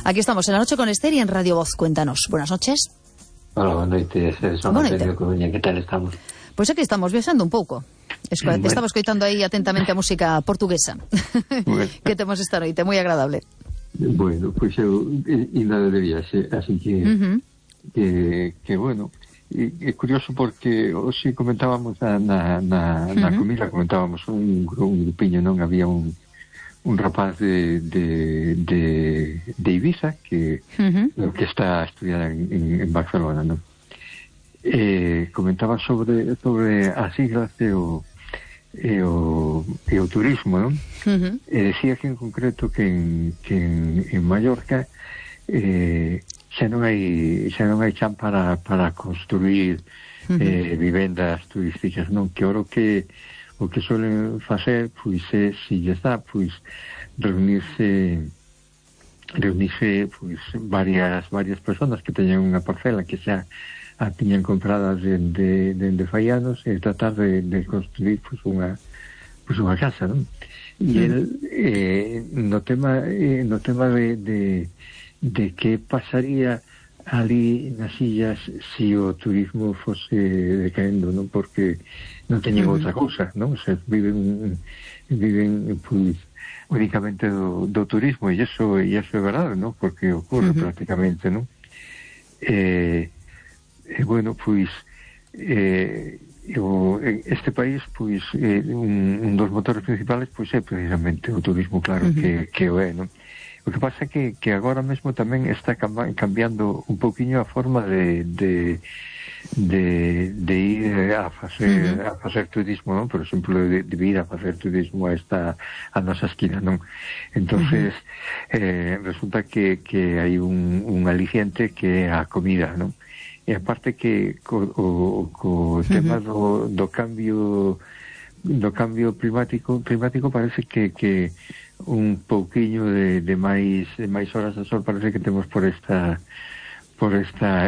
Aquí estamos en La Noche con Esther y en Radio Voz. Cuéntanos. Buenas noches. Hola, boa noite. Son Antonio Coruña. Que tal estamos? Pois aquí estamos viajando un pouco. Estamos escoitando aí atentamente a música portuguesa que temos esta noite, moi agradable. Bueno, pois eu ainda de viaxe, así que bueno, é curioso porque hoxe comentábamos na comida, comentábamos un grupiño, non? Había un rapaz de Ibiza que está a estudiar en Barcelona, non? Comentaba sobre as islas e o turismo, non? Decía que en concreto que en Mallorca xa non hai chan para construir vivendas turísticas, non? Que o que suelen facer pois é, se lle dá, pois reunirse pois varias personas que teñen unha parcela que xa a tiñan compradas dende fai anos e tratar de construir pois unha casa, non? E el no tema de que pasaría ali nas illas se o turismo fose decaendo, non? Porque non teñen outra cousa, non? O sea, viven pois únicamente do turismo, e iso é verdade, non? Porque ocorre prácticamente, non? Bueno, pois este país, pois un dos motores principales pois é precisamente o turismo, claro, que o é, non? O que pasa é que agora mesmo tamén está cambiando un pouquiño a forma de ir a facer turismo, non? Por exemplo, de ir a facer turismo a nosa esquina, non? Entonces resulta que hai un aliciente que é a comida, non? E aparte que co tema do cambio climático parece que un pouquiño de máis horas de sol parece que temos por esta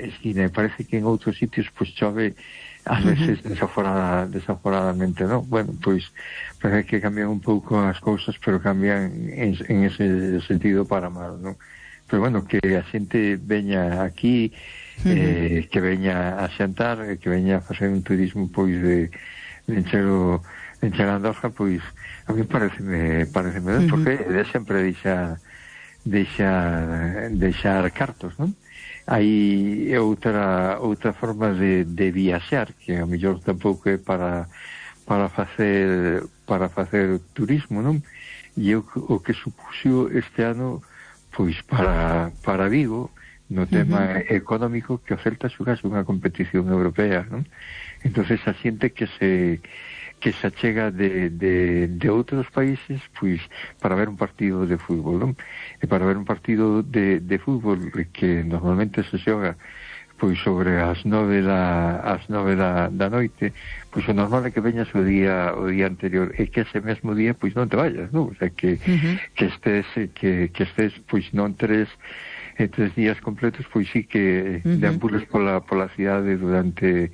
esquina, e parece que en outros sitios pois chove ás veces desaforadamente, non? Bueno, pois parece que cambian un pouco as cousas, pero cambian en ese sentido para mal, non? Pero bueno, que a xente veña aquí, que veña a xantar, que veña a facer un turismo pois de encher a Andorra, pois a mí pareceme ben, porque de sempre deixar cartos, non? Hai outra forma de viaxar que a mellor tampouco é para facer turismo, non? E o que supuxo este ano pois para Vigo no tema económico, que o Celta xogase unha competición europea, non? Entonces a xente que se achega de outros países pois para ver un partido de fútbol, non? E para ver un partido de fútbol que normalmente se xoga pois sobre as 9 da noite, pois o normal é que veñas o día anterior, e que ese mesmo día pois non te vayas, non? O sea, que estés pois non tres días completos, pois sí que deambules pola cidade durante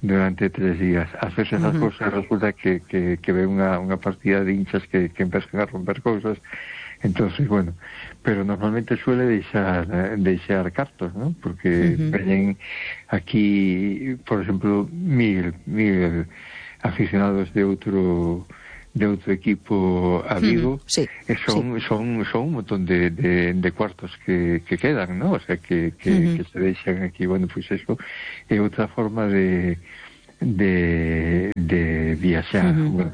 3 días. Ás veces as cousas resulta que ve unha partida de hinchas que empezan a romper cousas, entonces, bueno, pero normalmente suele deixar cartos, ¿no? Porque veñen aquí, por exemplo, mil aficionados de outro equipo a Vigo, e son un montón de cuartos que quedan, ¿no? O sea, que se deixan aquí. Bueno, pues eso é outra forma de viaxar, bueno,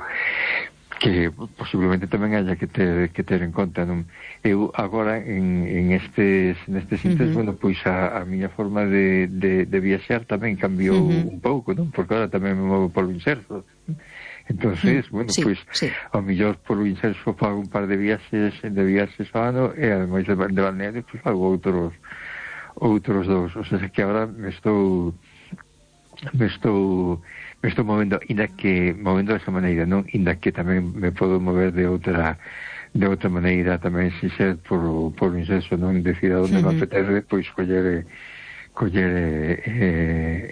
que posiblemente tamén haya que ter en conta, non? Eu agora nestes instantes, bueno, pois a miña forma de viaxar tamén cambiou un pouco, non? Porque agora tamén me movo polo inserso. Entonces, bueno, pois ao mellor polo inserso fago un par de viaxes ao ano, e ademais de balneario pois fago outros dous. O sea, que agora me estou movendo, movendo desa maneira, non? Inda que tamén me podo mover de outra maneira tamén, se ser por inserso, non? Decir a onde me apetece, pois coller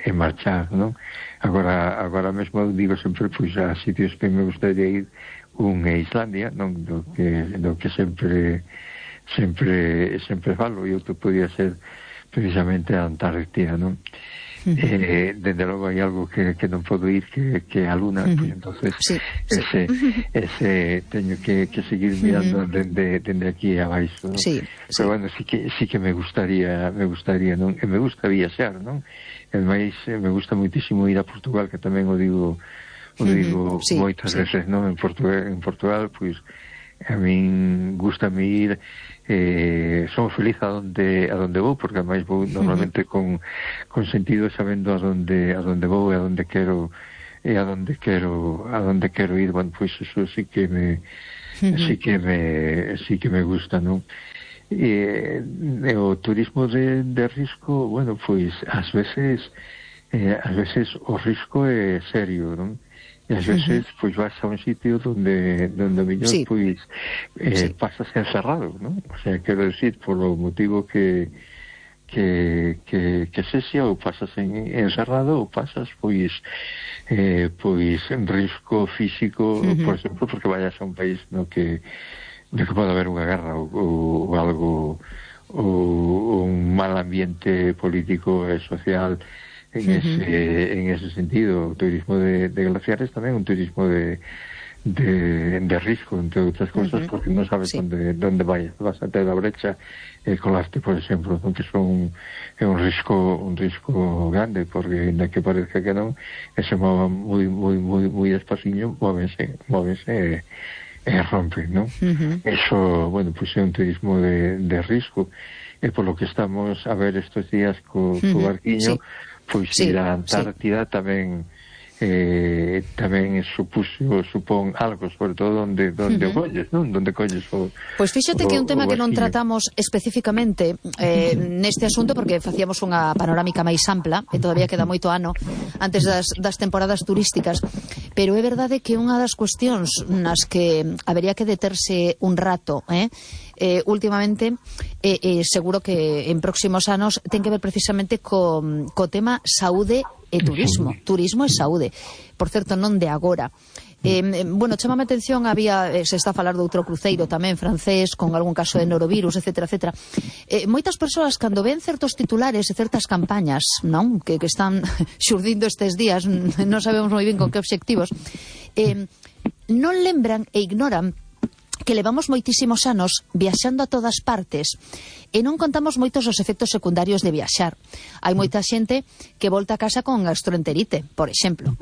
e marchar, non? Agora mesmo digo sempre pois a sitios que me gustaría ir, un é Islandia, non? Do que sempre sempre falo, e outro podía ser precisamente a Antártida, non? Desde logo hai algo que non podo ir, que a Luna, pues entonces ese teño que seguir mirando dende aquí abaixo, ¿no? Pero bueno, sí que me gustaría, non? E me gusta viaxar, non? E máis me gusta moitísimo ir a Portugal, que tamén o digo moitas veces, non? En Portugal, pois a min gustame ir, son feliz a donde vou, porque ademais vou normalmente con sentido, sabendo a donde vou e a donde quero ir. Bueno, pois eso sí que me gusta, non? E o turismo de risco, bueno, pois ás veces o risco é serio, non? E ás veces pois vas a un sitio donde mellor pois pasas encerrado, non? O sea, quero decir, polo motivo que sexa, ou pasas encerrado, ou pasas pois en risco físico, por exemplo, porque vayas a un país no que pode haber unha guerra ou algo, ou un mal ambiente político e social. En ese sentido, o turismo de glaciares tamén é un turismo de risco, entre outras cousas, porque non sabes onde vas a ter a brecha e colaste, por exemplo, que é un risco grande, porque ainda que parezca que non, se mova moi despaciño, móvense e rompen, non? Eso, bueno, pues é un turismo de risco, e polo que estamos a ver estes días co barquiño, pois ir a Antártida tamén supón algo, sobre todo onde colles, non? Onde colles o... Pois fíxate que é un tema que non tratamos especificamente neste asunto, porque facíamos unha panorámica máis ampla, e todavía queda moito ano antes das temporadas turísticas, pero é verdade que unha das cuestións nas que habería que deterse un rato, últimamente, seguro que en próximos anos ten que ver precisamente co tema saúde e turismo e saúde, por certo non de agora. Bueno, chamame a atención, se está a falar de outro cruceiro tamén francés con algún caso de norovirus, etcétera. Moitas persoas, cando ven certos titulares e certas campañas, non, que están xurdindo estes días, non sabemos moi ben con que obxectivos, non lembran e ignoran que levamos moitísimos anos viaxando a todas partes e non contamos moitos os efectos secundarios de viaxar. Hai moita xente que volta a casa con gastroenterite, por exemplo,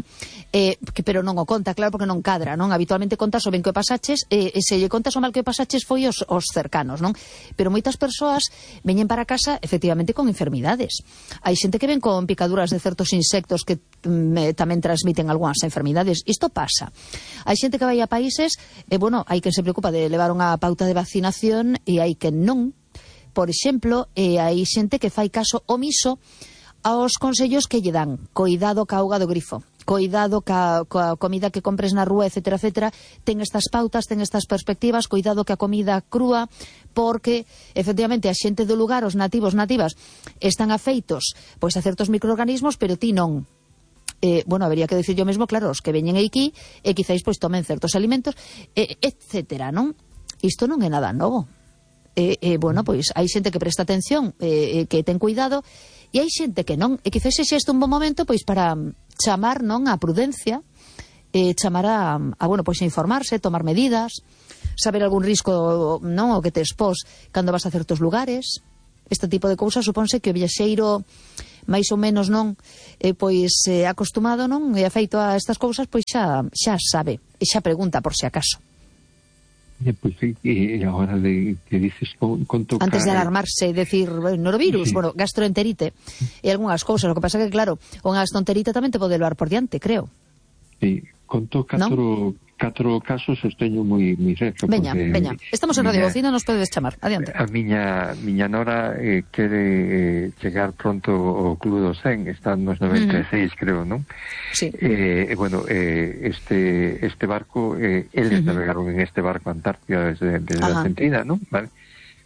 pero non o conta, claro, porque non cadra, non? Habitualmente contas o ben que o pasaches, e se lle contas o mal que o pasaches foi os cercanos, non? Pero moitas persoas veñen para casa efectivamente con enfermidades. Hai xente que ven con picaduras de certos insectos que tamén transmiten algunhas enfermidades. Isto pasa. Hai xente que vai a países, bueno, hai quen se preocupa de levar unha pauta de vacinación e hai quen non. Por exemplo, hai xente que fai caso omiso aos consellos que lle dan. Coidado ca auga do grifo, coidado ca comida que compres na rúa, etcétera. Ten estas pautas, ten estas perspectivas, coidado ca comida crúa, porque efectivamente a xente do lugar, os nativas, están afeitos pois a certos microorganismos, pero ti non. Bueno, habería que decir yo mesmo, claro, os que veñen aquí e quizáis pois tomen certos alimentos, etcétera, non? Isto non é nada novo. Bueno, pois hai xente que presta atención, que ten cuidado, e hai xente que non, e quizás sexa este un bon momento pois para chamar, non, a prudencia, chamar a bueno, pois a informarse, tomar medidas, saber algún risco, non, o que te expós cando vas a certos lugares. Este tipo de cousas supónse que o viaxeiro máis ou menos, non, pois acostumado, non, e afeito a estas cousas, pois xa sabe, e xa pregunta por si acaso. Pois sí, e agora que dices antes de alarmarse e decir norovirus, bueno, gastroenterite e algunhas cousas, o que pasa que claro, unha gastroenterite tamén te pode levar por diante, creo. Sí, conto catro casos os teño moi cerca. Veña, estamos en Radio Bocina, nos podedes chamar, adiante. A miña nora quere chegar pronto ao Club do 100, está nos 96, creo, non? Sí. Bueno, este barco, eles navegaron en este barco a Antártida desde a Argentina, non? Vale.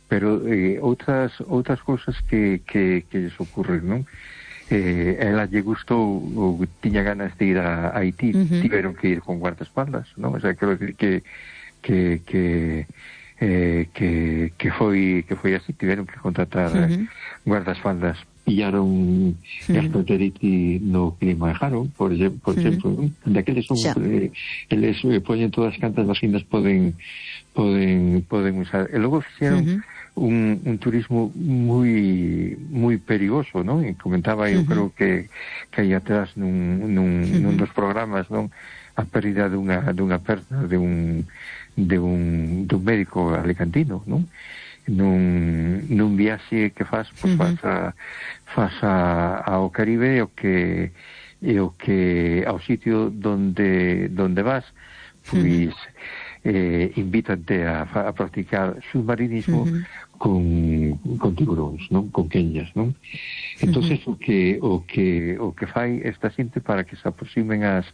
Pero outras cousas que lles ocurren, non? Ela lle gustou ou tiña ganas de ir a Haití, tiveron que ir con guardaespaldas, non? O sea, quero decir que foi así, tiveron que contratar guardaespaldas, pillaron gastroenteritis no clima de Jaro, por exemplo, daqueles son eles poñen todas as cantas vacinas poden usar, e logo fixeron un turismo moi perigoso, non? E comentaba, eu creo que aí atrás nun dos programas, non? A pérdida dunha perna de un médico alicantino, non? Nun viaxe que faz ao Caribe, o que ao sitio donde vas, pois invítante a practicar submarinismo con tiburóns, non? Con quenllas, non? Entonces o que fai esta xente para que se aproximen as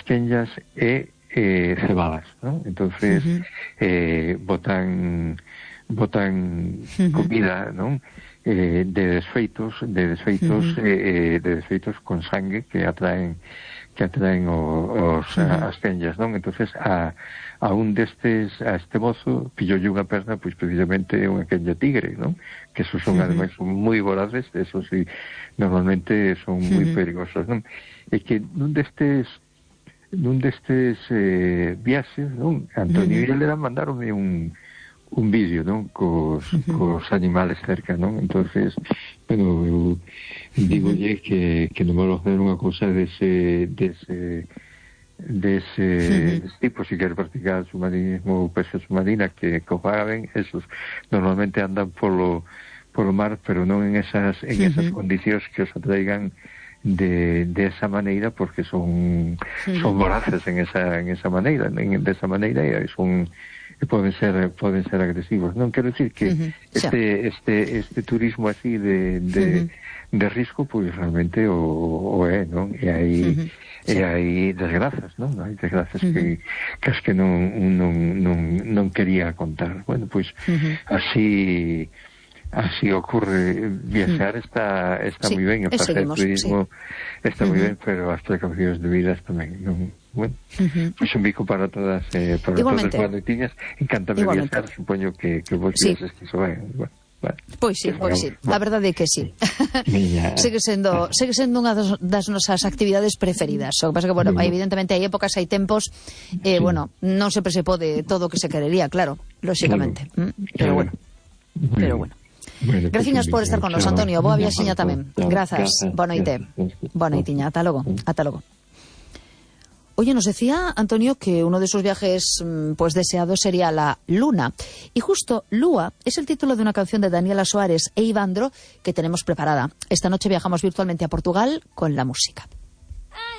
quenllas é cebadas, non? Entonces botan comida, non? De desfeitos con sangue que atraen as quenllas, non? Entonces a este mozo pilloulle unha perna, pois precisamente unha quenlla tigre, non? Que esos son ademais moi voraces, eso sí, normalmente son moi perigosos, non? E que nun destes viaxes, non? Antonio e Helena mandaronme un vídeo, non? Cos animales cerca, non? Entonces, bueno, eu digolle que non vou facer unha cousa dese tipo, si quer practicar submarinismo ou pesca submarina, que o fagan, esos normalmente andan polo mar, pero non en esas condicións que os atraigan de esa maneira, porque son voraces en esa maneira, desa maneira, e poden ser agresivos. Non quero dicir que este turismo así de risco, pois realmente o é, non? E hai desgrazas, non? Hai desgrazas que as que non quería contar. Bueno, pois así ocurre. Viaxar está moi ben, e facer turismo está moi ben, pero as precaucións debidas tamén, non? Bueno, pois un bico para todas todas as noitiñas. Encántame viaxar, supoño que vos viaxes que iso ben. Pois sí, a verdade é que sí. Segue sendo unha das nosas actividades preferidas. O que pasa que, bueno, evidentemente hai épocas, hai tempos, bueno, non sempre se pode todo o que se querería, claro, lóxicamente. Pero bueno. Graciñas por estar con nos, Antonio. Boa viaxiña tamén. Grazas. Boa noite. Boa noitiña. Ata logo. Oye, nos decía Antonio que uno de sus viajes pues deseados sería la Luna. Y justo Lua es el título de una canción de Daniela Suárez e Ivandro que tenemos preparada. Esta noche viajamos virtualmente a Portugal con la música.